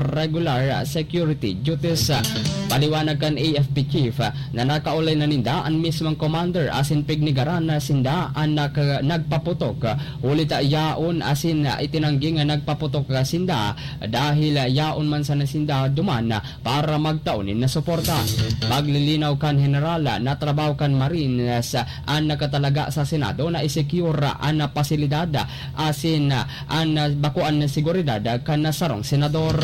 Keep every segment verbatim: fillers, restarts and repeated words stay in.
regular security duties. Paliwanag kan A F P chief na nakaulay na ninda an mismong commander asin pignigaran na sinda an naka-, nagpaputok. Huli ta yaon asin itinanggi nga nagpaputok sinda dahil yaon man sana sinda duman para magtao nin suporta. Paglilinaw kan General na trabaho kan Marines an nakatalaga sa Senado na i-secure an pasilidad asin an bakuan na seguridad kan sarong senador.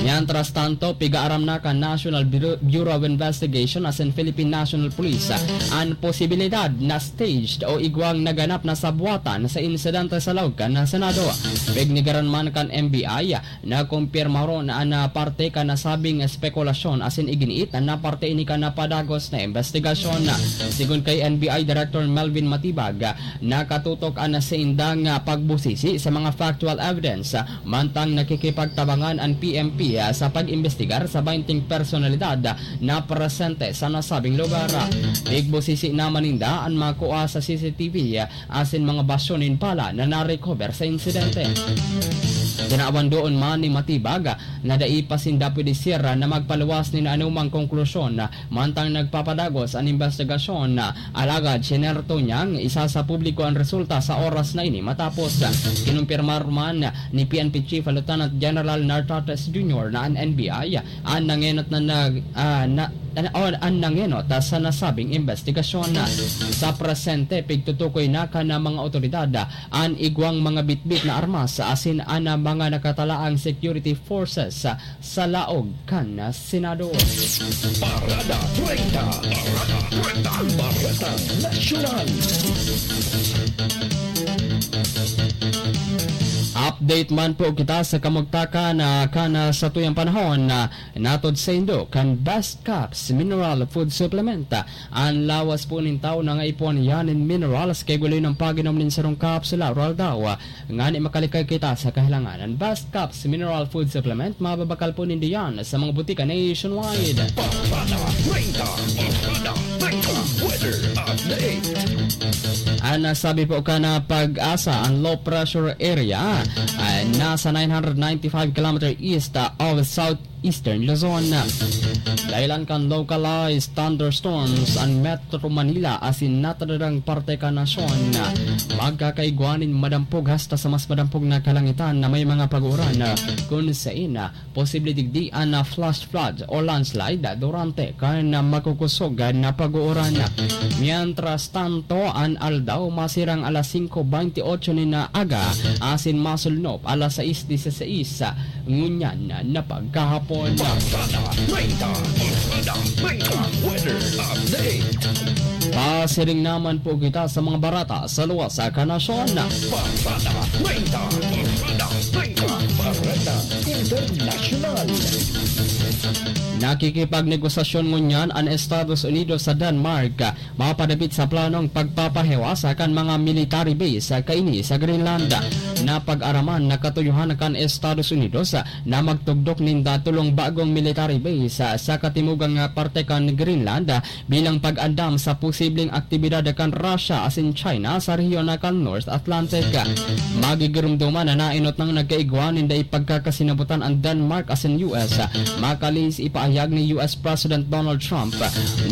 Mientras tanto, pigaaram na kan National Bureau, Bureau of Investigation asin Philippine National Police an posibilidad na staged o igwang naganap na sabwatan sa insidente sa laog kan Senado. Pignigaran man kan N B I, nakumpirma ron na an, ah, parte kan nasabing espekulasyon asin iginiit na parte ini kan napadagos na investigasyon. Sigon kay N B I Director Melvin Matibag, nakatutok an saindang, ah, pagbusisi sa mga factual evidence, mantang nakikipagtabangan an P N P, ah, sa pag-imbestigar sa baynting personalidad na presente sa nasabing lugar. Pigbusisi naman ninda an makua sa C C T V, ah, asin mga basyo nin bala na na-recover sa insidente. Tinawan doon man ni Matibag na dai pa sinda pwede sira na magpaluwas nin anumang konklusyon, mantang nagpapadagos an investigasyon. Alagad sinerto niyang isasapubliko an resulta sa oras na ini matapos. Kinumpirmar man ni P N P Chief Lieutenant General Nartates Junior na an N B I an nangenot na nag-, ah, na, na, o, an nangenot, ah, sa nasabing investigasyon. Sa presente, pigtutukoy na kan mga otoridad, ah, an igwang mga bitbit na armas, ah, asin an, ah, mga nakatalaang security forces, ah, sa laog kan, ah, Senado. Parada treinta. Parada treinta. Ang Baretang Nasyonal. Update man po kita sa kamugtakan na kan, ah, satuyang panahon na natod saindo kan Best Caps Mineral Food Supplement. An lawas po nin tawo nangaipuhan iyan nin minerals, kaya guli ng pag-inom nin sarong kapsula aroaldaw, ngani makalikay kita sa kahilangan. An Best Caps Mineral Food Supplement, mababakal po nindo yan sa mga butika nationwide. Parada treinta, Parada treinta, weather update. An nasabi po kan PAGASA, an low pressure area ay nasa nine hundred ninety-five kilometer east of southeastern Luzon. Dahilan kan localized thunderstorms an Metro Manila asin natadadang parte kan nasyon. Magkakaigwa nin madampog hasta sa mas madampog na kalangitan na may mga pag-uuran, kun sain posible digdi an, ah, flash flood o landslide durante kan, ah, makukusog na pag-uuran. Mientras tanto, an aldaw masirang alas singko beinti otso nin aga asin masulnop alas sais dieciséis ngunyan na pagkahapon. Barkada Treinta, Barkada Treinta, weather update. Pasiring naman po kita sa mga barata sa luwas sa kanasyon. Barkada Treinta, Barkada Treinta, Barkada Internasyonal. Nakikipagnegosasyon ngunyan an Estados Unidos sa Denmark mapadapit sa planong pagpapahiwas kan mga military base kaini sa Greenland. Napag-araman na katuyohan kan Estados Unidos na magtugdok ninda tolong bagong military base sa katimugang parte kan Greenland bilang pag-andam sa posibleng aktibidad kan Russia asin China sa rehiyon kan North Atlantic. Magigiromdoman na naenot nang nagkaigwa ninda ipagkakasinabutan an Denmark asin U S, makalihis ipaahayag ni U S President Donald Trump.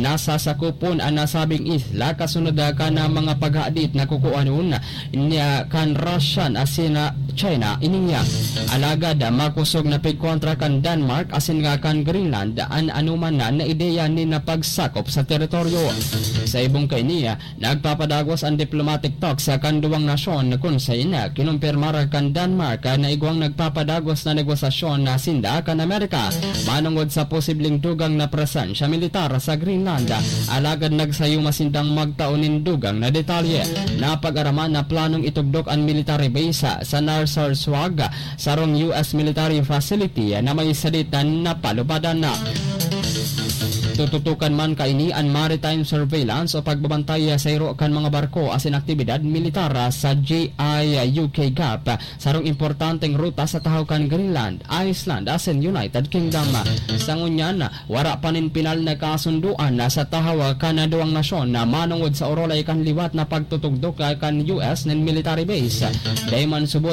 Nasasakopon an nasabing isla kasunod kan mga paghadit na kukuanon niya kan Russian asin China ini. Alagad makosog na pigkontra kan Denmark asin nga kan Greenland an anoman na, na ideya nin pagsakop sa teritoryo. Sa ibong kaini, nagpapadagos an diplomatic talks kan duwang nasyon, kun sain kinumpirmar kan Denmark na igwang nagpapadagos na negosasyon na sinda kan Amerika manongod sa posibleng dugang na presensya militar sa Greenland. Alagad nagsayuma sindang magtao nin dugang na detalye. Napag-araman na planong itugdok an military base sa Narsarsuaq, sarong U S military facility na may sadit na napalubadan na. Tututukan man kaini an maritime surveillance o pagbabantay sa iro kan mga barko asin aktibidad militar sa G I U K Gap, sarong importanteng ruta sa tahaw kan Greenland, Iceland asin United Kingdom. Sa ngunyan, wara pa nin pinal na kasundoan sa tahaw kan duwang nasyon manongod sa orolay kan liwat na pagtutugdok kan U S nin military base. Dai man subot